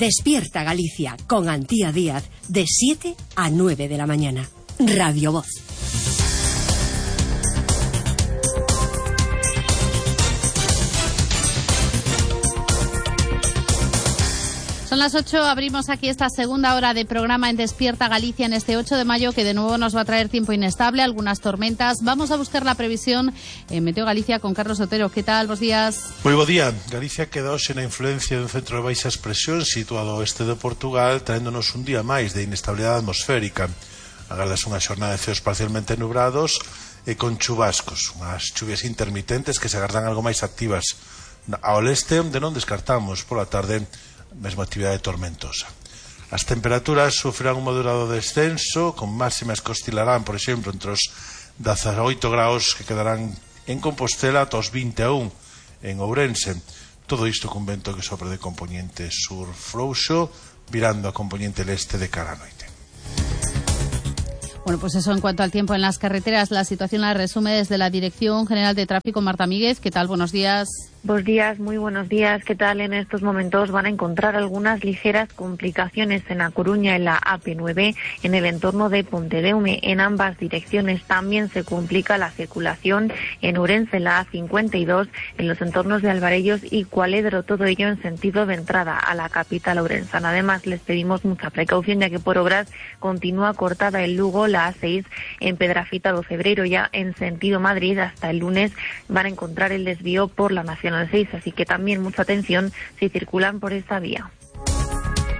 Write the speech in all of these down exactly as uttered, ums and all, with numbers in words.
Despierta Galicia con Antía Díaz de siete a nueve de la mañana. Radio Voz. Son las ocho, abrimos aquí esta segunda hora de programa en Despierta Galicia en este ocho de mayo, que de nuevo nos va a traer tiempo inestable, algunas tormentas. Vamos a buscar la previsión en Meteo Galicia con Carlos Otero. ¿Qué tal? Bos días. Moi bo día. Galicia quedou sen a influencia dun centro de baixas presións situado ao oeste de Portugal, traéndonos un día máis de inestabilidade atmosférica. Agardas unha xornada de ceos parcialmente nubrados e con chubascos, unhas chuvias intermitentes que se agardan algo máis activas ao leste, onde non descartamos pola tarde mesma actividade tormentosa. As temperaturas sufrirán un moderado descenso, con máximas que oscilarán, por exemplo, entre os dezaoito graus que quedarán en Compostela ata os vinte e un en Ourense. Todo isto con vento que sopra de componente sur frouxo, virando a componente leste de cara a noite. Bueno, pues eso en cuanto al tiempo en las carreteras. La situación la resume desde la Dirección General de Tráfico Marta Míguez. ¿Qué tal? Buenos días. Buenos días, muy buenos días. ¿Qué tal? En estos momentos van a encontrar algunas ligeras complicaciones en A Coruña, en la A P nueve, en el entorno de Pontedeume, en ambas direcciones. También se complica la circulación en Ourense, en la A cincuenta y dos, en los entornos de Alvarellos y Cualedro, todo ello en sentido de entrada a la capital ourensana. Además, les pedimos mucha precaución, ya que por obras continúa cortada en Lugo la A seis en Pedrafita do Cebreiro. Ya en sentido Madrid, hasta el lunes van a encontrar el desvío por la Nacional seis, así que también mucha atención si circulan por esta vía.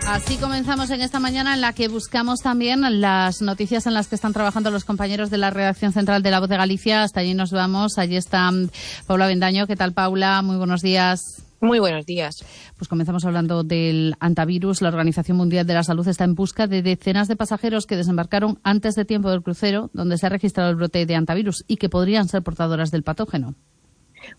Así comenzamos en esta mañana, en la que buscamos también las noticias en las que están trabajando los compañeros de la redacción central de La Voz de Galicia. Hasta allí nos vamos. Allí está Paula Bendaño. ¿Qué tal, Paula? Muy buenos días. Muy buenos días. Pues comenzamos hablando del antivirus. La Organización Mundial de la Salud está en busca de decenas de pasajeros que desembarcaron antes de tiempo del crucero, donde se ha registrado el brote de antivirus y que podrían ser portadoras del patógeno.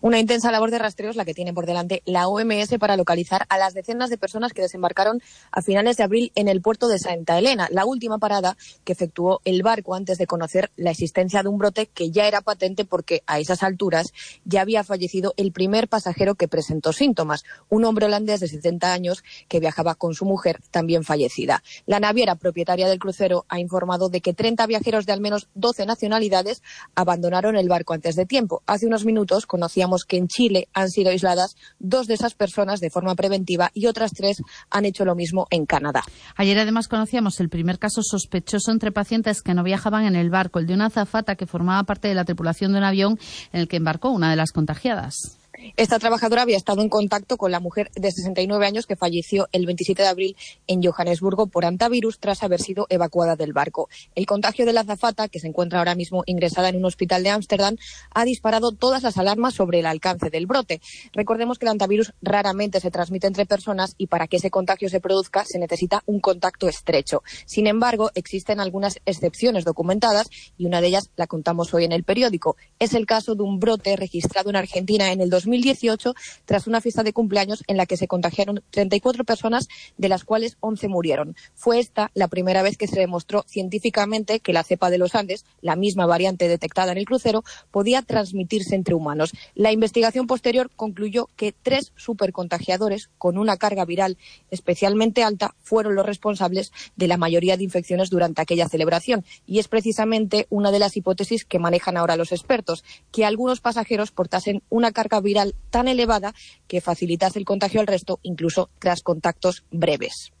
Una intensa labor de rastreo es la que tiene por delante la O M S para localizar a las decenas de personas que desembarcaron a finales de abril en el puerto de Santa Elena, la última parada que efectuó el barco antes de conocer la existencia de un brote que ya era patente porque a esas alturas ya había fallecido el primer pasajero que presentó síntomas, un hombre holandés de setenta años que viajaba con su mujer, también fallecida. La naviera propietaria del crucero ha informado de que treinta viajeros de al menos doce nacionalidades abandonaron el barco antes de tiempo. Hace unos minutos conocíamos que en Chile han sido aisladas dos de esas personas de forma preventiva y otras tres han hecho lo mismo en Canadá. Ayer además conocíamos el primer caso sospechoso entre pacientes que no viajaban en el barco, el de una azafata que formaba parte de la tripulación de un avión en el que embarcó una de las contagiadas. Esta trabajadora había estado en contacto con la mujer de sesenta y nueve años que falleció el veintisiete de abril en Johannesburgo por antivirus tras haber sido evacuada del barco. El contagio de la azafata, que se encuentra ahora mismo ingresada en un hospital de Ámsterdam, ha disparado todas las alarmas sobre el alcance del brote. Recordemos que el antivirus raramente se transmite entre personas y para que ese contagio se produzca se necesita un contacto estrecho. Sin embargo, existen algunas excepciones documentadas y una de ellas la contamos hoy en el periódico. Es el caso de un brote registrado en Argentina en el dos mil dieciocho tras una fiesta de cumpleaños en la que se contagiaron treinta y cuatro personas, de las cuales once murieron. Fue esta la primera vez que se demostró científicamente que la cepa de los Andes, la misma variante detectada en el crucero, podía transmitirse entre humanos. La investigación posterior concluyó que tres supercontagiadores con una carga viral especialmente alta fueron los responsables de la mayoría de infecciones durante aquella celebración, y es precisamente una de las hipótesis que manejan ahora los expertos, que algunos pasajeros portasen una carga viral tan elevada que facilitase el contagio al resto, incluso tras contactos breves.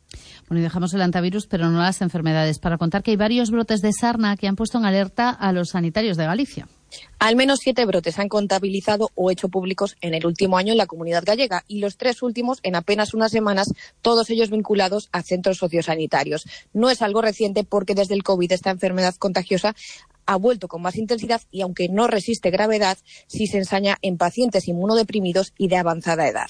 Bueno, y dejamos el antivirus, pero no las enfermedades, para contar que hay varios brotes de sarna que han puesto en alerta a los sanitarios de Galicia. Al menos siete brotes se han contabilizado o hecho públicos en el último año en la Comunidad Gallega, y los tres últimos en apenas unas semanas, todos ellos vinculados a centros sociosanitarios. No es algo reciente porque desde el COVID esta enfermedad contagiosa ha vuelto con más intensidad y, aunque no resiste gravedad, sí se ensaña en pacientes inmunodeprimidos y de avanzada edad.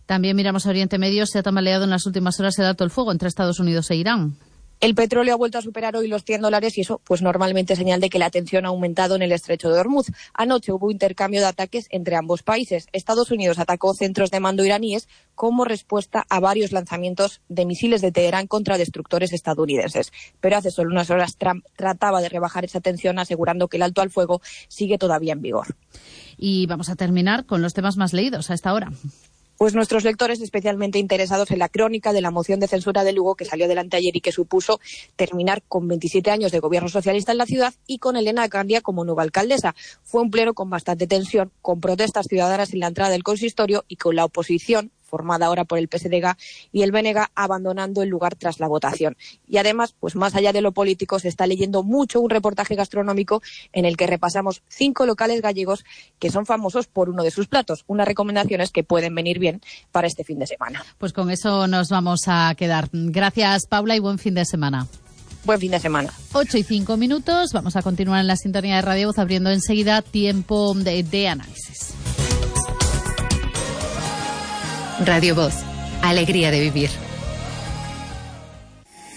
También miramos a Oriente Medio. Se ha tambaleado en las últimas horas el alto el fuego entre Estados Unidos e Irán. El petróleo ha vuelto a superar hoy los cien dólares y eso pues normalmente es señal de que la tensión ha aumentado en el estrecho de Hormuz. Anoche hubo intercambio de ataques entre ambos países. Estados Unidos atacó centros de mando iraníes como respuesta a varios lanzamientos de misiles de Teherán contra destructores estadounidenses. Pero hace solo unas horas Trump trataba de rebajar esa tensión asegurando que el alto al fuego sigue todavía en vigor. Y vamos a terminar con los temas más leídos a esta hora. Pues nuestros lectores especialmente interesados en la crónica de la moción de censura de Lugo que salió adelante ayer y que supuso terminar con veintisiete años de gobierno socialista en la ciudad y con Elena Candia como nueva alcaldesa. Fue un pleno con bastante tensión, con protestas ciudadanas en la entrada del consistorio y con la oposición, formada ahora por el P S D G y el B N G, abandonando el lugar tras la votación. Y además, pues más allá de lo político, se está leyendo mucho un reportaje gastronómico en el que repasamos cinco locales gallegos que son famosos por uno de sus platos. Unas recomendaciones que pueden venir bien para este fin de semana. Pues con eso nos vamos a quedar. Gracias, Paula, y buen fin de semana. Buen fin de semana. ocho y cinco minutos. Vamos a continuar en la sintonía de Radio Voz, abriendo enseguida tiempo de, de análisis. Radio Voz. Alegría de vivir.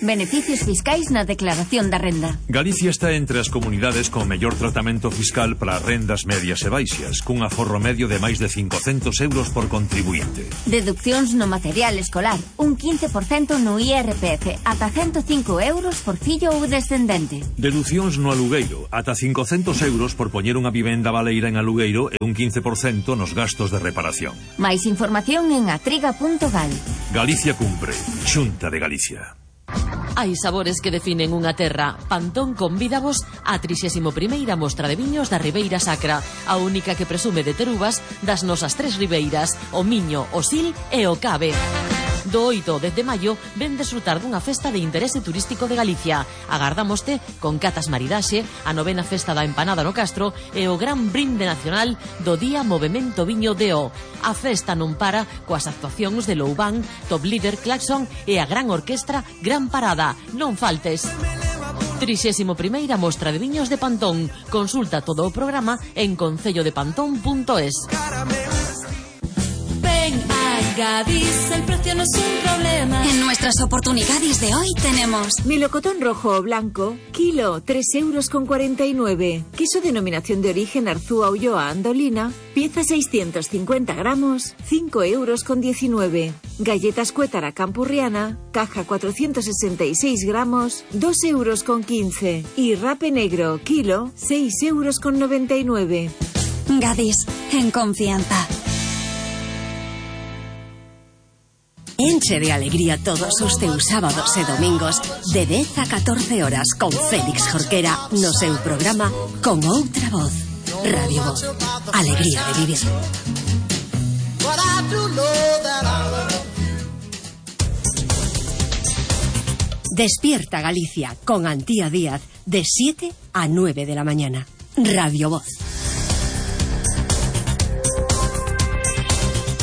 Beneficios fiscais na declaración da renda. Galicia está entre as comunidades con mellor tratamento fiscal para rendas medias e baixas, cun aforro medio de máis de cincocentos euros por contribuinte. Deduccións no material escolar, un quince por cento no I R P F, ata ciento cinco euros por fillo ou descendente. Deducións no alugueiro, ata cincocentos euros por poñer unha vivenda baleira en alugueiro e un quince por cento nos gastos de reparación. Máis información en atriga punto gal. Galicia cumpre. Xunta de Galicia. Hai sabores que definen unha terra. Pantón convídavos á trixésima primeira mostra de viños da Ribeira Sacra, a única que presume de ter uvas das nosas tres ribeiras, o Miño, o Sil e o Cabe. Do oito ao dez de maio ven desfrutar dunha festa de interese turístico de Galicia. Agardámoste con catas maridaxe, a novena festa da empanada no Castro e o gran brinde nacional do Día Movemento Viño de O. A festa non para coas actuacións de Loubán, Top Líder, Claxon e a gran orquestra Gran Parada. Non faltes. trixésima primeira mostra de viños de Pantón. Consulta todo o programa en concello de pantón punto es. Gadis, el precio no es un problema. En nuestras oportunidades de hoy tenemos melocotón rojo o blanco, kilo, tres euros con cuarenta y nueve. Queso denominación de origen Arzúa Ulloa Andolina, pieza seiscientos cincuenta gramos, cinco euros con diecinueve. Galletas Cuétara Campurriana, caja cuatrocientos sesenta y seis gramos, dos euros con quince. Y rape negro, kilo, seis euros con noventa y nueve. Gadis, en confianza. Enche de alegría todos os teus sábados e domingos de dez a catorce horas con Félix Jorquera no seu programa Con Outra Voz. Radio Voz. Alegría de vivir. Despierta Galicia con Antía Díaz de siete a nueve de la mañana. Radio Voz.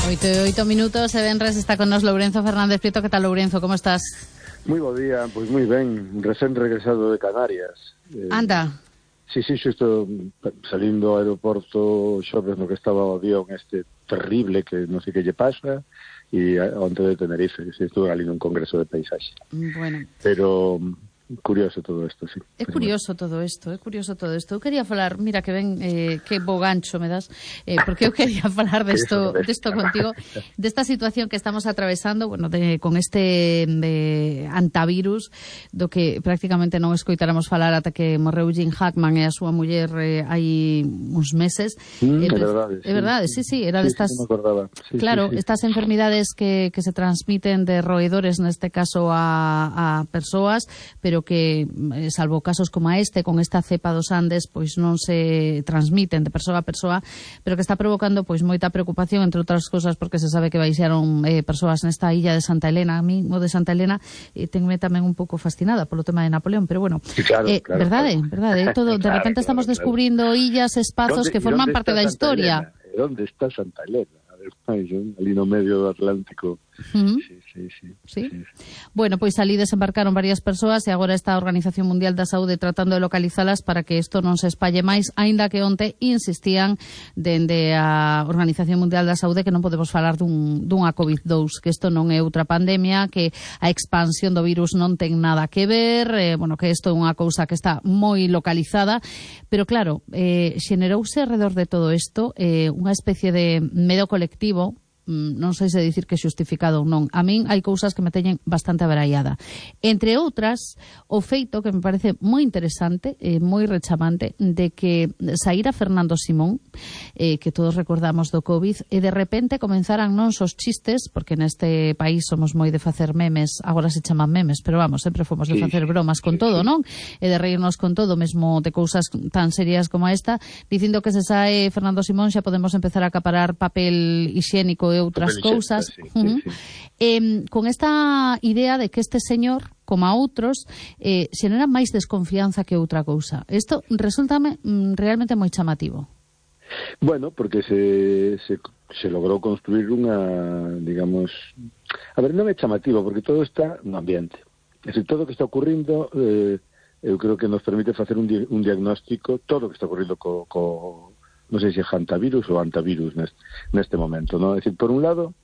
Oito e oito minutos, e venres está con nos Lourenzo Fernández Prieto. Que tal, Lourenzo? Como estás? Moi bo día, pois moi ben, recén regresado de Canarias. Eh, Anda. Sí, sí, xusto salindo ao aeroporto xoves no que estaba o avión este terrible que non sei que lle pasa, e onte de Tenerife, que estuve ali nun congreso de paisaxe. Bueno. Pero curioso todo isto, sí. É curioso todo isto, é curioso todo isto. Eu quería falar, mira que ben, eh, que bo gancho me das, eh, porque eu quería falar desto, desto contigo, desta situación que estamos atravesando, bueno, de, con este de antavirus, do que prácticamente non escoitáramos falar ata que morreu Jim Hackman e a súa muller eh, hai uns meses. Mm, eh, é verdade, é verdade, sí, sí, era sí, destas, sí, me acordaba. Sí, claro, sí, sí. estas enfermidades que, que se transmiten de roedores, neste caso a, a persoas, pero que, salvo casos como este, con esta cepa dos Andes, pois non se transmiten de persoa a persoa, pero que está provocando pois moita preocupación, entre outras cousas, porque se sabe que baixaron eh, persoas nesta illa de Santa Elena. A mí, o de Santa Elena, eh, tenme tamén un pouco fascinada polo tema de Napoleón, pero bueno, sí, claro, eh, claro, verdade, claro. verdade, todo, de Claro, repente claro, estamos claro. descubrindo illas, espazos que forman parte da historia. Onde está Santa Elena? A ver, ali no medio do Atlántico. Uh-huh. Sí, sí, sí, sí. sí. Bueno, pois ali desembarcaron varias persoas e agora está a Organización Mundial da Saúde tratando de localizalas para que isto non se espalle máis, aínda que onte insistían dende a Organización Mundial da Saúde que non podemos falar dun, dunha covid dous, que isto non é outra pandemia, que a expansión do virus non ten nada que ver, eh, bueno, que isto é unha cousa que está moi localizada, pero claro, eh, xenerouse alrededor de todo isto eh, unha especie de medo colectivo non sei se dicir que xustificado ou non. A min hai cousas que me teñen bastante abarallada. Entre outras, o feito que me parece moi interesante, eh, moi rechamante, de que saíra Fernando Simón, eh, que todos recordamos do COVID, e de repente comenzaran non os chistes, porque neste país somos moi de facer memes, agora se chaman memes, pero vamos, sempre fomos de facer bromas con todo, non? E de reírnos con todo, mesmo de cousas tan serias como esta, dicindo que se sae Fernando Simón xa podemos empezar a acaparar papel higiénico e outras cousas. Sí, uh-huh. sí, sí. Eh, con esta idea de que este señor, como a outros, eh, xenera máis desconfianza que outra cousa. Isto resultame mm, realmente moi chamativo. Bueno, porque se, se, se logrou construir unha, digamos... A ver, non é chamativo, porque todo está no ambiente. É dicir, todo o que está ocurrindo... Eh, eu creo que nos permite facer un, di- un diagnóstico, todo o que está ocurrindo co... co non sei se é hantavirus ou antavirus neste, neste momento, non? É dicir, por un lado,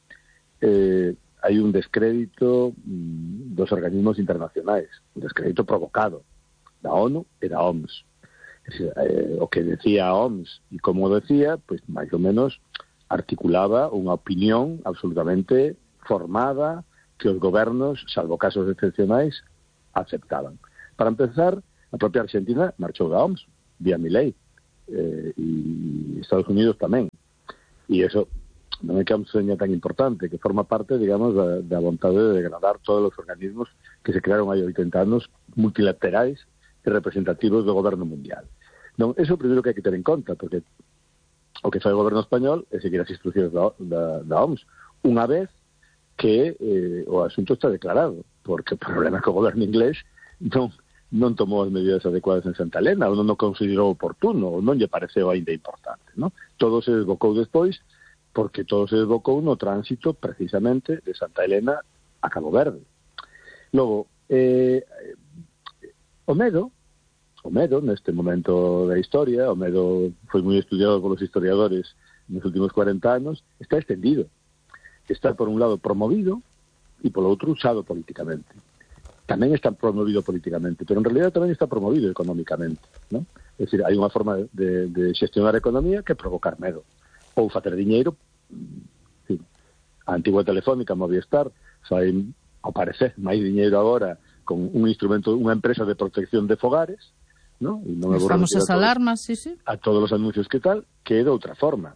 eh, hai un descrédito mm, dos organismos internacionais, un descrédito provocado da ONU e da O M S. É dicir, eh, o que decía a O M S e como decía, pois máis ou menos articulaba unha opinión absolutamente formada que os gobernos, salvo casos excepcionais, aceptaban. Para empezar, a propia Argentina marchou da O M S, vía Milei. Eh, e Estados Unidos tamén, e eso non é que a seña tan importante, que forma parte, digamos, da, da vontade de degradar todos os organismos que se crearon hai oitenta anos, multilaterais e representativos do goberno mundial. Non, eso é o primeiro que hai que ter en conta, porque o que fai o goberno español é seguir as instruccións da, da, da O M S, unha vez que eh, o asunto está declarado, porque o problema é que o goberno inglés non non tomou as medidas adecuadas en Santa Elena, ou non o considerou oportuno, ou non lle pareceu ainda importante, non? Todo se desbocou despois, porque todo se desbocou no tránsito, precisamente, de Santa Elena a Cabo Verde. Logo, eh, o medo, o medo, neste momento da historia, o medo foi moi estudiado polos historiadores nos últimos cuarenta anos, está extendido. Está, por un lado, promovido, e, polo outro, usado políticamente. Tamén está promovido políticamente, pero en realidad tamén está promovido económicamente, ¿no? É dicir, hai unha forma de, de xestionar a economía que é provocar medo, ou facer diñeiro. Sí. A antigua Telefónica, Movistar, fai, ao parecer, máis diñeiro agora con un instrumento, unha empresa de protección de fogares, ¿no? E non as famosas alarmas, sí, sí. A todos os anuncios que tal, que é de outra forma.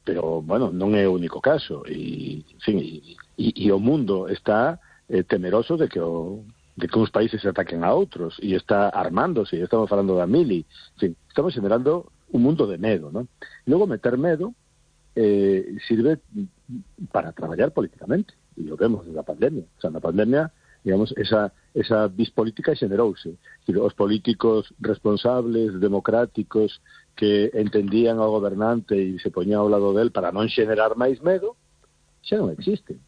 Pero, bueno, non é o único caso, e, en fin, e, e, e o mundo está eh, temeroso de que o de que uns países se ataquen a outros, e está armándose, e estamos falando da mili, en fin, estamos generando un mundo de medo, ¿no? E logo meter medo eh, sirve para traballar políticamente, e o vemos na pandemia. O sea, na pandemia, digamos, esa, esa bispolítica xenerouse. Os políticos responsables, democráticos, que entendían ao gobernante e se poñían ao lado del para non xenerar máis medo, xa non existen.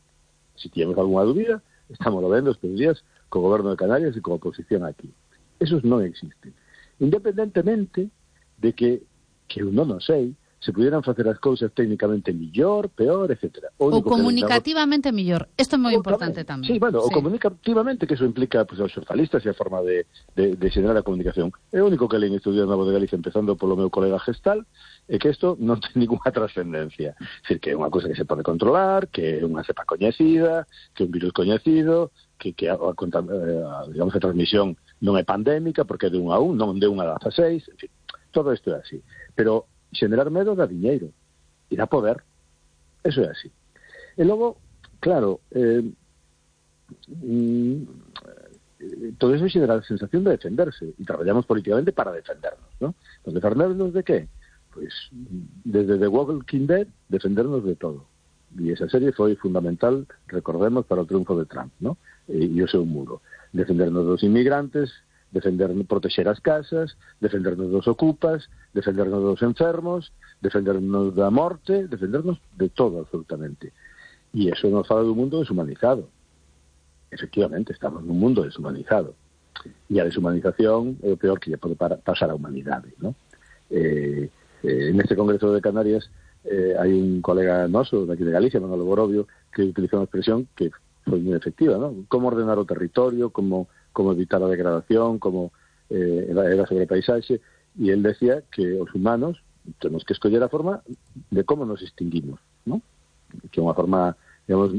Se tiñamos algunha dúbida, estamos lo vendo estes días co goberno de Canarias e co oposición aquí. Esos non existen. Independentemente de que, que eu non o sei, se pudieran facer as cousas técnicamente millor, peor, etcétera. O comunicativamente mellor. Isto é moi importante tamén. Sí, bueno, sí. O comunicativamente, que eso implica pues, os xornalistas e a forma de, de, de xenerar a comunicación. É o único que leí en Estudios Novos de Galicia, empezando polo meu colega Gestal, é que isto non ten ninguna trascendencia. É dicir, que é unha cousa que se pode controlar, que é unha cepa coñecida, que é un virus coñecido, que, que a, a, a, digamos, a transmisión non é pandémica, porque é de un a un, non de un a dezaseis, en fin, todo isto é así. Pero xenerar medo dá diñeiro e dá poder, eso é así. E logo, claro, eh, mm, todo eso xenera a sensación de defenderse, e traballamos políticamente para defendernos, ¿no? Pues defendernos de qué? Pues desde The Walking Dead, defendernos de todo. E esa serie foi fundamental, recordemos, para o triunfo de Trump, ¿no? E, e o seu muro. Defendernos dos inmigrantes, defendernos, proteger as casas, defendernos dos ocupas, defendernos dos enfermos, defendernos da morte, defendernos de todo, absolutamente. E eso nos fala dun mundo deshumanizado. Efectivamente, estamos nun mundo deshumanizado. E a deshumanización é o peor que lle pode pasar á humanidade, ¿no? Eh, eh, neste Congreso de Canarias eh, hai un colega noso daqui de Galicia, Manolo Borobio, que utilizou unha expresión que foi moi efectiva, ¿no? Como ordenar o territorio, como, como evitar a degradación, como eh, era sobre a paisaxe, e el decía que os humanos temos que escoller a forma de como nos extinguimos, ¿no? que é unha forma, digamos,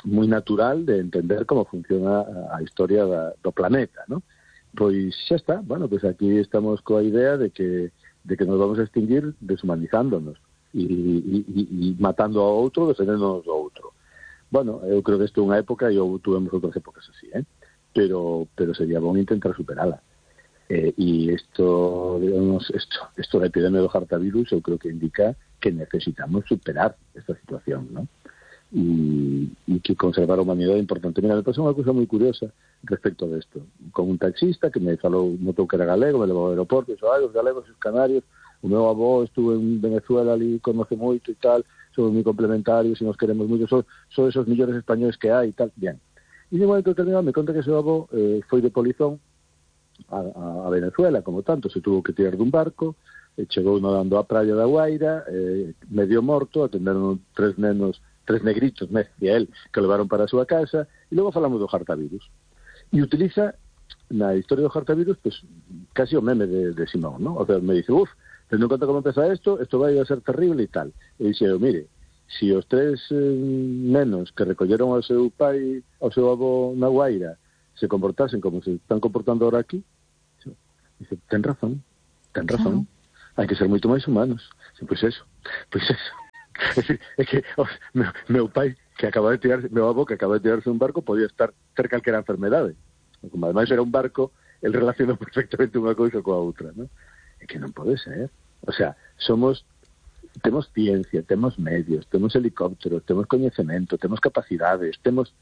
moi natural de entender como funciona a historia da, do planeta, ¿no? Pois xa está, bueno, pois aquí estamos coa idea de que de que nos vamos a extinguir deshumanizándonos e, e, e, e matando ao outro, defendéndonos do outro. Bueno, eu creo que isto é unha época e eu tuvemos outras épocas así, eh? Pero, pero sería bon intentar superala. Eh, e isto, digamos, isto, isto da epidemia do hartavirus eu creo que indica que necesitamos superar esta situación, ¿no? Y, y que conservar a humanidade é importante. Mira, me pasou unha cousa moi curiosa respecto de isto. Con un taxista que me falou, notou que era galego, me levou ao aeroporto, e dixo, ai, os galegos e os canarios, o meu avó estuvo en Venezuela ali, conoce moito e tal, somos moi complementarios e nos queremos moito, son, son esos millores españoles que hai e tal, bien. E de momento determinado me conta que seu avó eh, foi de polizón a, a, a Venezuela, como tanto, se tuvo que tirar dun barco, e chegou nadando á praia da Guaira, eh, medio morto, atenderon tres nenos, tres negritos, me decía él, que o levaron para a súa casa, e logo falamos do hartavirus. E utiliza, na historia do hartavirus, pues, casi o meme de, de Simón, ¿no? O sea, me dice, uff, tendo en conta como empeza isto, isto vai a ser terrible e tal. E dixe, mire, si os tres eh, nenos que recolleron ao seu pai, ao seu avó na Guaira, se comportasen como se están comportando ahora aquí, dice, ten razón, ten razón, hai que ser moito máis humanos. Dice, pois eso, pois eso. É decir, é que oh, meu, meu pai que acaba de tirarse, meu avó que acaba de tirarse un barco podía estar ter calquera enfermedade. Como ademais era un barco, el relacionou perfectamente unha cousa coa outra, ¿no? É que non pode ser. O sea, somos, temos ciencia, temos medios, temos helicópteros, temos coñecemento, temos capacidades, temos...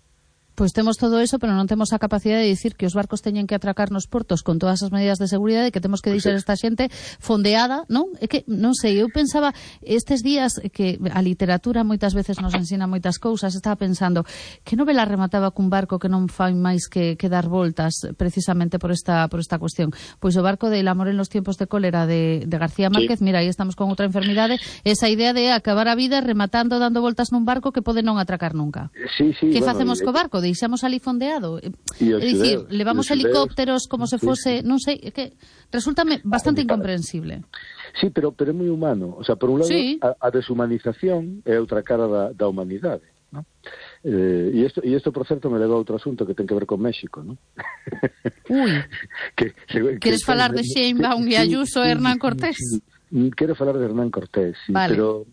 Pois temos todo eso, pero non temos a capacidade de dicir que os barcos teñen que atracar nos portos con todas as medidas de seguridade, que temos que deixar esta xente fondeada, non? É que, non sei, eu pensaba estes días que a literatura moitas veces nos ensina moitas cousas, estaba pensando que novela remataba cun barco que non fai máis que, que dar voltas precisamente por esta por esta cuestión. Pois o barco de El amor en los tiempos de cólera de, de García Márquez, sí. Mira, aí estamos con outra enfermidade, esa idea de acabar a vida rematando, dando voltas nun barco que pode non atracar nunca. Sí, sí, que bueno, facemos y... co barco? Deixamos ali fondeado. É dicir, levamos helicópteros como se fose, non sei, é que resultame bastante incomprensible. Sí, pero pero é moi humano. O sea, por un lado, sí. a, a deshumanización é outra cara da, da humanidade, ¿no? Eh, e isto, e isto, por certo, me leva a outro asunto que ten que ver con México, ¿no? Uy. que, que, Queres que, falar de Sheinbaum e Ayuso e Hernán Cortés? Sí, sí. Quero falar de Hernán Cortés, sí, vale. Pero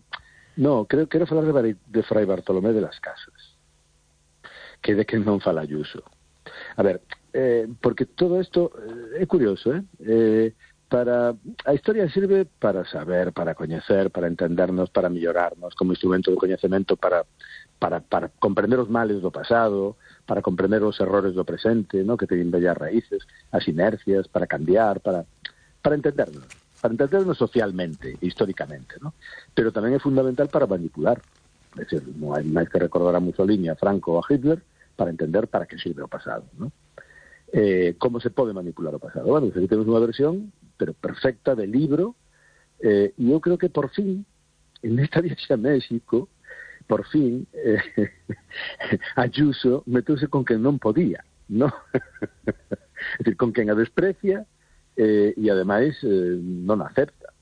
no, creo, quero falar de, de Fray Bartolomé de las Casas, que de que non fala Ayuso. A ver, eh, porque todo isto eh, é curioso, eh? eh para a historia sirve para saber, para coñecer, para entendernos, para mellorarnos como instrumento de coñecemento, para para para comprender os males do pasado, para comprender os errores do presente, ¿no? Que teñen bellas raíces, as inercias, para cambiar, para para entendernos, para entendernos socialmente, históricamente, ¿no? Pero tamén é fundamental para manipular. É dicir, non hai máis que recordar a Mussolini, a Franco ou a Hitler para entender para que sirve o pasado, ¿no? Eh, como se pode manipular o pasado? Bueno, aquí temos unha versión, pero perfecta, de libro, eh, e eu creo que por fin, en esta viaxe a México, por fin, eh, Ayuso meteuse con quen non podía, ¿no? É dicir, con quen a desprecia eh, e ademais eh, non acepta.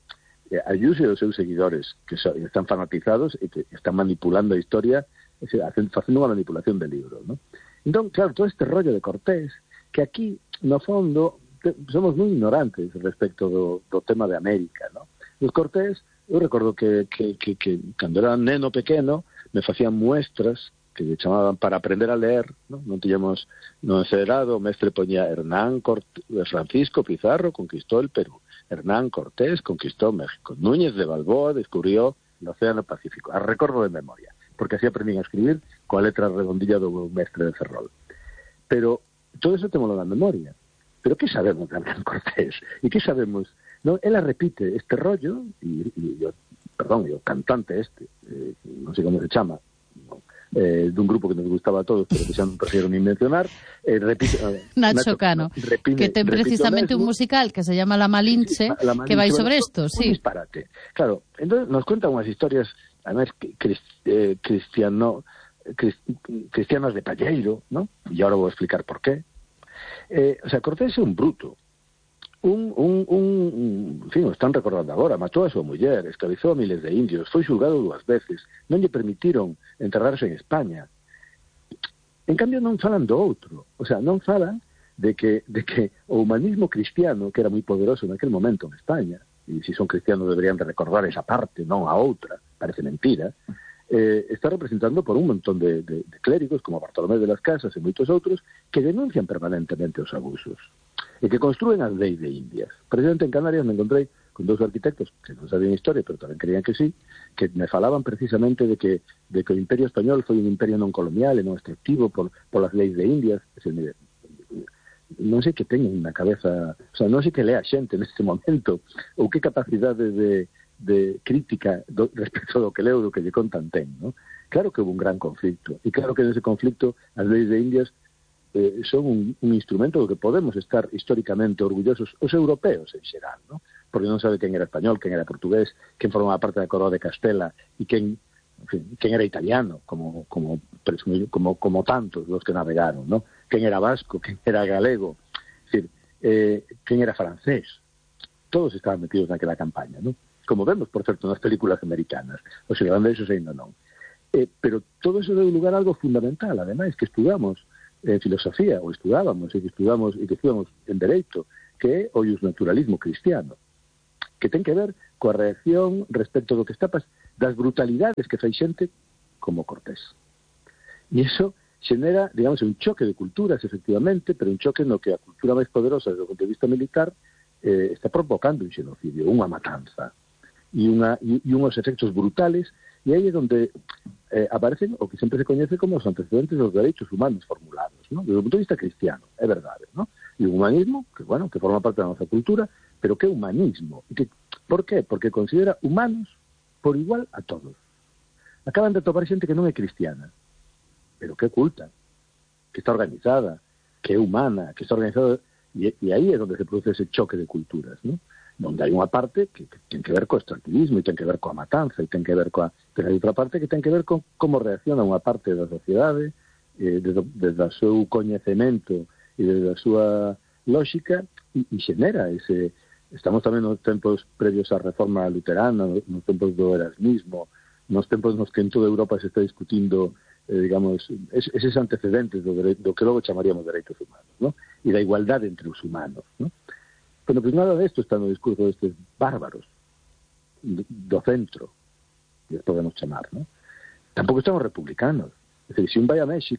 Eh, Ayuso e os seus seguidores, que so, están fanatizados e que están manipulando a historia, facendo unha manipulación de libro, ¿no? Entón, claro, todo este rollo de Cortés, que aquí, no fondo, te, somos moi ignorantes respecto do, do tema de América, ¿no? Os Cortés, eu recordo que, que, que, que cando era neno pequeno, me facían muestras que me chamaban para aprender a leer, ¿no? Non tiñamos no encerado, o mestre poñía Hernán Cortés, Francisco Pizarro conquistó el Perú, Hernán Cortés conquistó México, Núñez de Balboa descubrió el Océano Pacífico, a recordo de memoria, porque así aprendín a escribir coa letra redondilla do mestre de Ferrol. Pero todo eso temos na memoria. Pero que sabemos de Hernán Cortés? E que sabemos? No, ela repite este rollo, e, e yo, perdón, o cantante este, eh, non sei como se chama, no, eh, dun grupo que nos gustaba a todos, pero que xa non prefiero ni mencionar, eh, repite... Eh, Nacho, Nacho Cano, repine, que ten precisamente un musical que se llama La Malinche, la Malinche que vai sobre isto, sí. Un disparate. Claro, entonces nos cuentan unhas historias, además, eh, cristiano, crist, cristianas de palleiro, ¿no? E ahora vou explicar por qué. Eh, o sea, Cortés é un bruto, un, un, un, en fin, o están recordando agora, matou a súa muller, esclavizou a miles de indios, foi xulgado dúas veces, non lle permitiron enterrarse en España. En cambio non falan do outro, o sea, non falan de que, de que o humanismo cristiano, que era moi poderoso naquele momento en España, e se son cristianos deberían de recordar esa parte, non a outra, parece mentira, eh, está representando por un montón de, de, de clérigos, como Bartolomé de las Casas e moitos outros, que denuncian permanentemente os abusos e que construen as leis de Indias. Precisamente en Canarias me encontrei con dous arquitectos que non sabían historia, pero tamén creían que sí, que me falaban precisamente de que, de que o Imperio Español foi un imperio non colonial e non extractivo por, por as leis de Indias. Es decir, mire, non sei que teñen na cabeza, o sea, non sei que lea xente neste momento, ou que capacidade de, de crítica do, respecto do que leo, do que lle contan ten, ¿no? Claro que houve un gran conflicto, e claro que nese conflicto as leis de Indias eh, son un, un instrumento do que podemos estar históricamente orgullosos os europeos en xeral, ¿no? Porque non sabe quen era español, quen era portugués, quen formaba parte da coroa de Castela e quen, en fin, quen era italiano, como como, como como tantos los que navegaron, ¿no? Quen era vasco, quen era galego, es decir, eh, quen era francés. Todos estaban metidos naquela campaña, ¿no? Como vemos, por certo, nas películas americanas. Os irlandeses ainda non. Eh, pero todo eso deu lugar a algo fundamental, ademais, que estudamos en filosofía, ou estudábamos, e que estudamos, e que estudamos en dereito, que é o naturalismo cristiano, que ten que ver coa reacción respecto do que está pas das brutalidades que fai xente como Cortés. E iso xenera, digamos, un choque de culturas, efectivamente, pero un choque no que a cultura máis poderosa desde o punto de vista militar eh, está provocando un xenocidio, unha matanza, e, unha, e, e unhos efectos brutales, e aí é onde eh, aparecen o que sempre se coñece como os antecedentes dos dereitos humanos formulados, ¿no? Desde o punto de vista cristiano, é verdade, ¿no? E o humanismo, que, bueno, que forma parte da nosa cultura, pero que é humanismo. E que, por qué? Porque considera humanos por igual a todos. Acaban de topar xente que non é cristiana, pero que é culta, que está organizada, que é humana, que está organizada, e, e aí é onde se produce ese choque de culturas, ¿no? Donde hai unha parte que, que ten que ver co extractivismo e ten que ver coa matanza e ten que ver coa... Pero hai outra parte que ten que ver con como reacciona unha parte da sociedade eh, desde, desde o seu coñecemento e desde a súa lógica e, e xenera ese... Estamos tamén nos tempos previos á reforma luterana, nos tempos do erasmismo, nos tempos nos que en toda Europa se está discutindo eh, digamos, es, eses antecedentes do, do que logo chamaríamos dereitos humanos, ¿no? E da igualdade entre os humanos, ¿no? Pero pues nada de esto está no discurso destes bárbaros do centro, que podemos chamar, ¿no? Tampouco estamos republicanos. Es decir, se un vai a México